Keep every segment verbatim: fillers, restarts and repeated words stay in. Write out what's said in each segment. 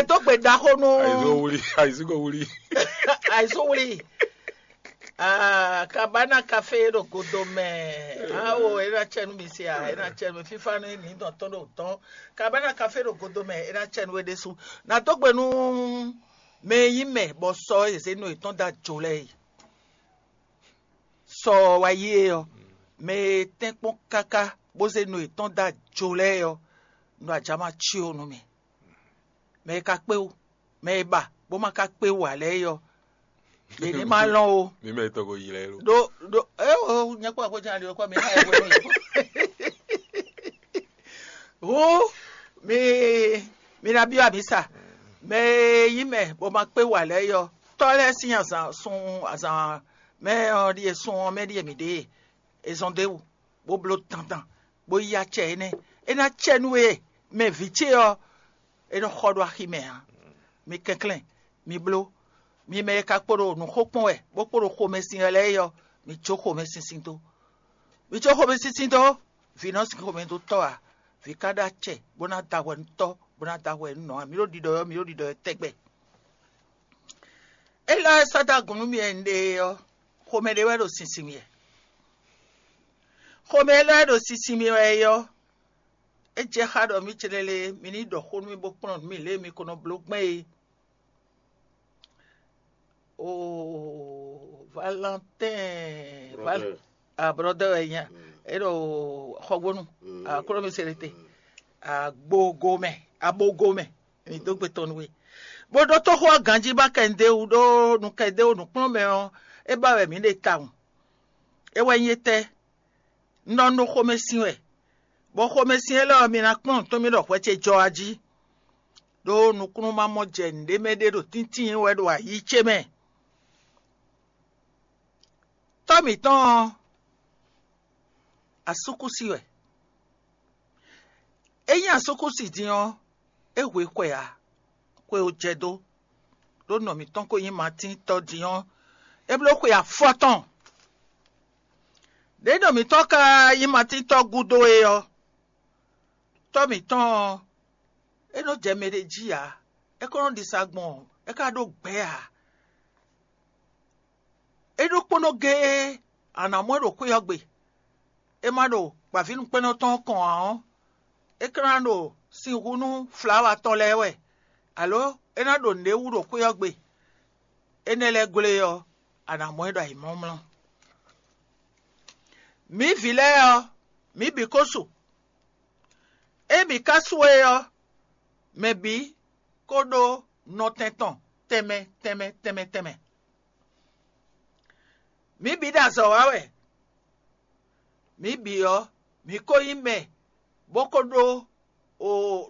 Dó gbe ɖaxó nú Àìsó wuli, àìsíkò wuli. Àìsówlí. Ah, kabana kafe ɖo godo mɛ. Awo, ena cɛ nú mi sia, ena cɛ nú mi fifa nú mi dɔn tɔn ɖo tɔn. Kabana kafe ɖo godo mɛ, ena cɛ nú we ɖésú. Na dó gbe nú mɛ e nyí mɛ bɔ sɔ e zé nɔ yětɔn da jo lɛ yi. Sɔ wa yi e ɔ, mɛ e tɛ́nkpɔ́n káká bó zé nɔ yětɔn da jo lɛ ɔ, nɔ ajama cio nú mi. Mɛ e ka kpé wú, mɛ e ba bó ma ka kpé wú ǎ lɛ́ɛ é ɔ́, yě ní ma lɔn o. Mi mɛ tɔgɔ yi lɛ lo. Ɖó ɖó é o nyɛkpɔ àkójá ɖi ɔkọ mi hã ɛ wɛ. Hú mi mi ná byɔ́ amǐ sa. Mɛ e nyí mɛ bó ma kpé wú ǎ lɛ́ɛ é ɔ́, tɔ́ lɛ́ɛ sín azǎn sun azǎn mɛ ɔ́ ɖíe sun ɔ́ mɛ ɖíe mǐ ɖe e zɔn d'é wú, bó bló dandan, bó yí acɛ énɛ́. É ná cɛ nú we mɛ vǐ ce ɔ́, é nɔ xɔ ɖó axi mɛ ǎ. Mi kɛnklɛ́n, mi bló. Mi mɛ e ka kpo ɖo nǔxó kpɔ́n wɛ, bó kpo ɖo xomɛsin wɛ lɛ́ɛ é ɔ́, mi jó xomɛsinsin dó. Mi jó xomɛsinsin dó, vǐ nɔ sin xomɛ dó tɔ́ ǎ. Vǐ ka ɖó acɛ, bó ná da hwɛ nú tɔ́, bó ná da hwɛ nú nɔ ǎ. Mi ɖo ɖiɖɔ ɔ́, mi ɖo ɖiɖɔ ɔ́ tɛgbɛ. Élɔ́ e sɔ́ dó agun nú mì wɛ un ɖe é ɔ́, xomɛ ɖé wɛ ɖo sinsin mì wɛ. Xomɛ élɔ́ e ɖo sinsin mì wɛ é ɔ́, é jɛ xá ɖɔ mì céɖélé mi ní ɖɔ xó nú mì bó kplɔ́n nǔ mì lě e mi ko nɔ bló gbɛn é. Oo, Valentin, Val- ah, brɔdɛ wɛ nya. É ɖo xɔgbónu. Akló mi se ɖe te. Agbogo mɛ, abogo mɛ. Mi dó gbe tɔn nú we. Bó ɖó tóxó ɔ́ ganjí ba kɛndéwu ɖó nu kɛndéwu nǔkplɔ́nmɛ ɔ́, é ba wɛ mǐ ɖe tawun. É wɛ nyí étɛ́? Un nɔ nú xomɛsin wɛ, bɔ xomɛsin élɔ́ ɔ́, mi ná kplɔ́n nǔ tɔn mì ɖɔ hwɛ ce jɔ a jí, ɖó nukúnnú ma mɔ jɛ nǔɖé mɛ ɖé ɖo tíntín wɛ ɖo ayǐ ce mɛ. Tɔ́ mǐtɔn ɔ́, asúkúsi wɛ. Ényí asúkúsi din ɔ́, é hwe xwe ǎ, xwe ò jɛ dó, ɖó nɔ mǐtɔn ko nyí Matín tɔ́ din ɔ́, é bló xwe afɔtɔn. Ɖěe nɔ mǐtɔn ka nyí Matín tɔ́ gúdo é ɔ́, tɔ́ mǐtɔn ɔ́, é nɔ jɛ mɛ ɖé jí ǎ; é ko nɔ ɖisa gbɔn, é ka ɖó gbɛ̌ ǎ. É ɖokpónɔ géé a nǎ mɔ ɛ ɖo xwé ɔ́ gbe. É ma ɖo gbǎvínúkpɛ́nnɔ tɔn kɔn ǎ ɔ́, é ka ná ɖo sin hu nú flawa tɔn lɛ́ɛ wɛ, alǒ é ná ɖo nǔɖé wú ɖo xwé ɔ́ gbe. Énɛ́ lɛ́ɛ glé ɔ́, a nǎ mɔ ɛ ɖo ayǐmlɔ́mlɔ́. Mǐ vǐ lɛ́ɛ ɔ́, mǐ bǐ ko su. Ée mǐ ka su é ɔ́, mɛ bǐ ko ɖó nɔtɛn tɔn tɛnmɛ tɛnmɛ tɛnmɛ tɛnmɛ. Mǐ bǐ ɖo azɔ̌ wa wɛ. Mǐ bǐ ɔ́, mǐ ko nyí mɛ, bó ko ɖó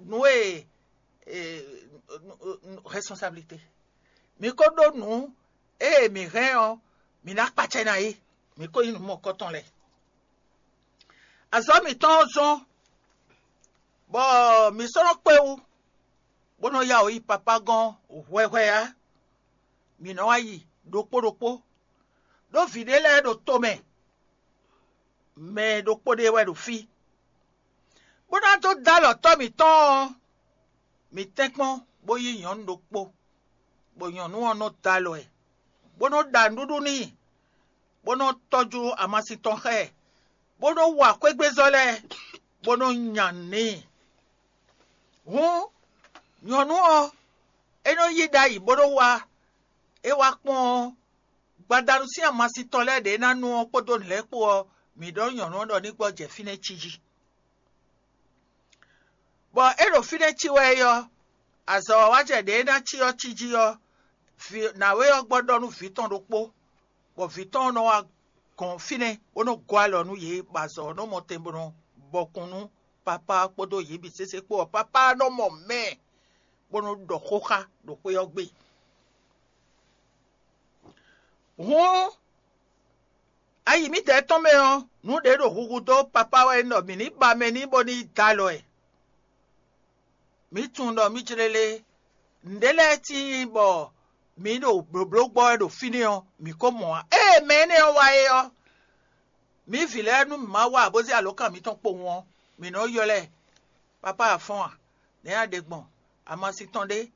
nǔ e responsabilité. Mǐ ko ɖó nǔ e mǐ hɛn ɔ́, mǐ ná kpacɛ ná é. Mǐ ko nyí nǔ mɔ̌kɔtɔn lɛ́ɛ. Azɔ̌ mǐtɔn ɔ́ zɔ́n, bɔ mǐ sɔ́ nɔ kpé wú, bó nɔ ya wǔ yi Papá gɔ́n hwɛhwɛ ǎ. Mǐ nɔ wá yi ɖokpó ɖokpó, ɖó vǐ ɖé lɛ́ɛ ɖo tomɛ, mɛ ɖokpó ɖé wɛ ɖo fí, bó ná dó dó alɔ tɔ́ mǐtɔn ɔ́, mǐ tɛ́nkpɔ́n bó yí nyɔ̌nu ɖokpó, bɔ nyɔ̌nu ɔ́ nɔ dó alɔ ɛ, bó nɔ ɖa nǔɖuɖu n'i, bó nɔ tɔ́jú amasin tɔn xá ɛ, bó nɔ wa xwégbézɔ́ lɛ́ɛ, bó nɔ nya nǔ n'i. Hǔn nyɔ̌nu ɔ́, é nɔ yí ɖ'ayǐ bó nɔ wá; é wá kpɔ́n ɔ́, gbadanu sín amasin tɔn lɛ́ɛ ɖě ná nu ɔ́ kpódó nǔ lɛ́ɛ kpó ɔ́, mǐ ɖɔ nyɔ̌nu ɔ́ ɖɔ ní gbɔ jɛ fínɛ́ cí jí. Bɔ é ɖo fínɛ́ cí wɛ é ɔ́, azɔ̌ ɔ́ wá jɛ ɖě é ná cí ɔ́ cí jí ɔ́, vǐ nǎwe ɔ́ gbɔ ɖɔ nú vǐ tɔn ɖokpó, bɔ vǐ tɔn ɔ́ nɔ wá gɔn fínɛ́, bó nɔ́ gɔ́ alɔ nú yě, bɔ azɔ̌ ɔ́ nɔ́ mɔ tɛn bó nɔ́ bɔkun nú papá ɔ́ kpódó yě bǐ sésé kpó ɔ́, papá ɔ́ nɔ́ mɔ mɛ, bó nɔ́ ɖɔ xó xá ɖo xwé ɔ́ gbe. Hǔn ayi mǐdɛɛ tɔn mɛ ɔ́, nǔ ɖě ɖo huhu dó papá wɛ ɖɔ mǐ ní ba mɛ n'i bó ní yi dó alɔ ɛ. Mǐ tunwun ɖɔ mǐ jlé lé nǔɖé lɛ́ɛ tíin bɔ mǐ ɖo blǒbló gbɔ wɛ ɖo fínɛ́ ɔ́, mǐ ko mɔ ǎ. Ée mɛ énɛ́ ɔ́ wá é ɔ́, mǐ vǐ lɛ́ɛ nú mǐ ma wa bó zé alǒkan mǐtɔn kpowun ɔ́, mǐ nɔ ylɔ́ ɛ: Papá a fɔ́n a? Nɛ̌ a ɖe gbɔn? Amasin tɔn ɖé,